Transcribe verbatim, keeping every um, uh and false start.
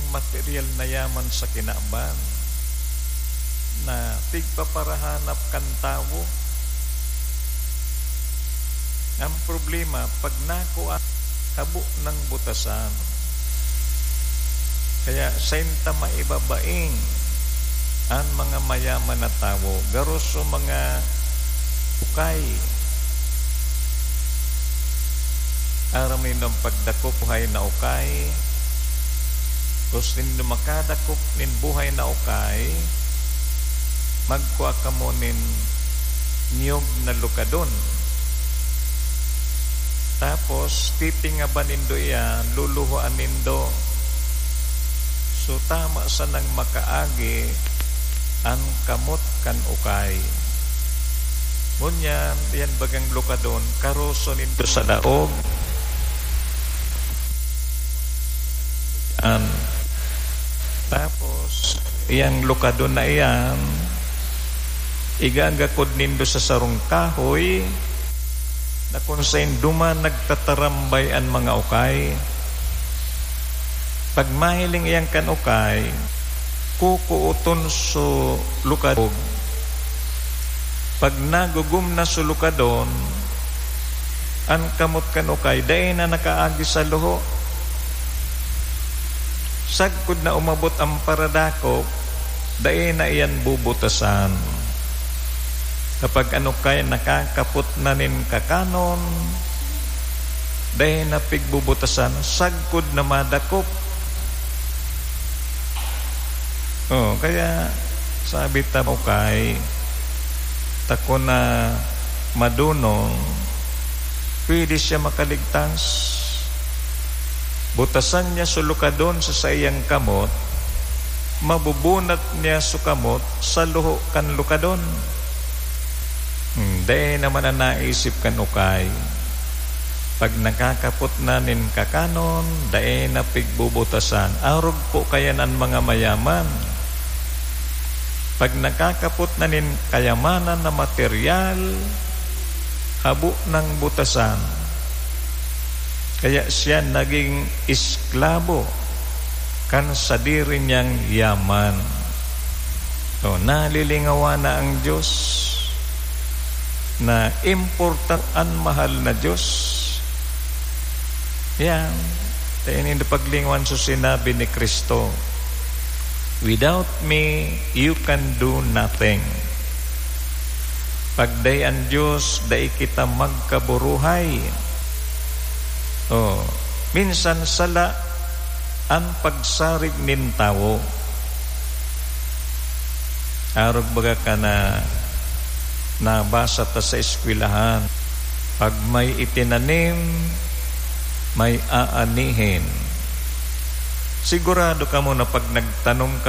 Material na yaman sa kinaban na tigpaparahanap kan tawo. Ang problema, pag nakua, habo nang butasan. Kaya sainta maibabaing an mga mayaman na tawo, garo sa mga ukay. Aram nindo an pagdakop buhay na ukay. Kung nindo makadakop nin buhay na ukay, magkua kamo nin niyog na lukadon. Tapos, titingaban nindo iyan, luluhoan nindo. So, tama sanang makaagi an kamot kan ukay. Ngunyan, yan bagang lukadon, karoso nindo sa daog. An. Tapos, iyang lukadon na iyan, igagakod nindo sa sarong kahoy na kun sain duman nagtatarambay an mga ukay. Pag mahiling iyan kan ukay, kukuoton so lukadon. Pag nagugom na so lukadon, an kamot kan ukay dai na nakaagi sa luho. Sagkod na umabot an paradakop, dai na iyan bubutasan. Kapag an ukay nakakapot na nin kakanon, dai na pigbubutasan, sagkod na madakop. Oh, kaya sabi ta, ukay, ta kun na madunong, pwede siya makaligtas. Butasan niya so lukadon sa saiyang kamot, mabubunat niya so kamot sa luho kan lukadon. Hmm, dai naman an naisip kan ukay. Pag nakakapot na nin kakanon, dai na pigbubutasan. Arog po kaya an mga mayaman. Pag nakakapot na nin kayamanan na material, habo nang butasan. Kaya siya naging esklabo kan sadiri niyang yaman. So, nalilingawan na ang Diyos na importante an mahal na Diyos. Yan. Tayo nindo paglingawan sa sinabi ni Kristo, "Without me, you can do nothing." Pag dai an Diyos, dai kita magkaburuhay. Oh, minsan sala an pagsarig nin tawo. Arog baga ka na nabasa ta sa eskwelahan, "Pag may itinanim, may aanihin." Sigurado kamo na pag nagtanom ka